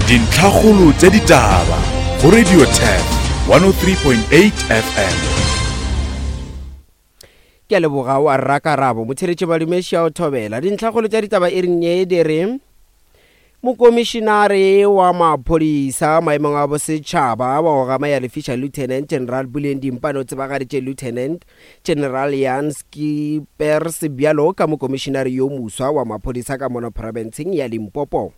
Dintlhakgolo tša ditaba go Radio Turf 103.8 FM. Ke a leboga wa rrakarabo motheletše badumeši ya o thobela. Dintlhakgolo tša ditaba e reng ye di re Mokomišinare wa maphodisa maemong a bosetšhaba wa go gama ya lefiša Lieutenant General Puleng Dimpane o tsebagaditše Lieutenant General Jan Schippers bjalo ka mokomišinare yo moswa wa maphodisa ka mono profenseng ya Limpopo.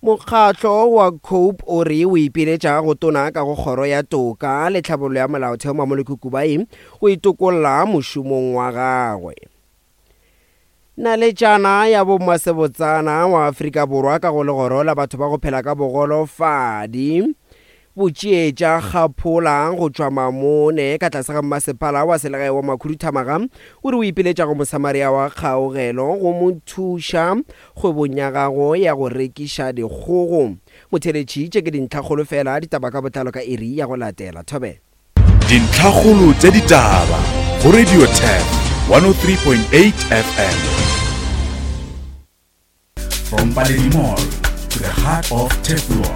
Mokgatlo wa COPE o re o ipiletša go tona ka go kgoro ya toka le tlhabollo ya molaotheo Mamoloko Kubayi go itokolla mošomong wa gagwe. Naletšana ya bommasebotsana wa Afrika Borwa ka go legoro la batho ba go phela ka bogolofadi Botšietša Kgaphola go tšwa Mamone ka tlase ga mmasepala wa selegae wa Makhuduthamaga o re o ipiletša go Mosamaria wa kgaogelo go mo thuša kgwebong ya gago ya go rekiša dikgogo. Motheeletši, tše ke dintlhakgolo fela, ditaba ka botlalo ka iri ya go latela. Thobela. Dintlhakgolo tša ditaba go Radio Turf 103.8 FM. From Paledi Mall to the heart of Turfloop,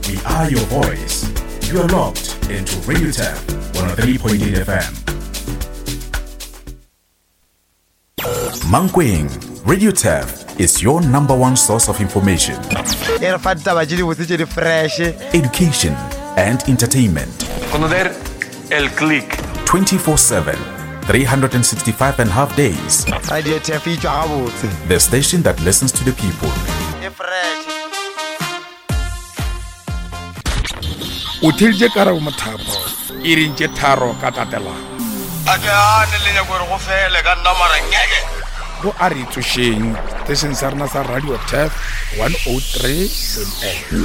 we are your voice. You are locked into Radio Turf 103.8 FM. Mankweng, Radio Turf is your number one source of information. E re fa ditaba tše dibotse tše di fresh. Education and entertainment. Conocer el click. 24-7, 365 and half days. Radio Turf e tšwa gabotse. The station that listens to the people. E fresh. O theeditše Karabo Mothapo iring tše tharo ka tatelano. A ke gane le nyako gore go fele ka nna mara ngeke. Go a re tsošeng seteisheng sa rena sa Radio Turf 103.8.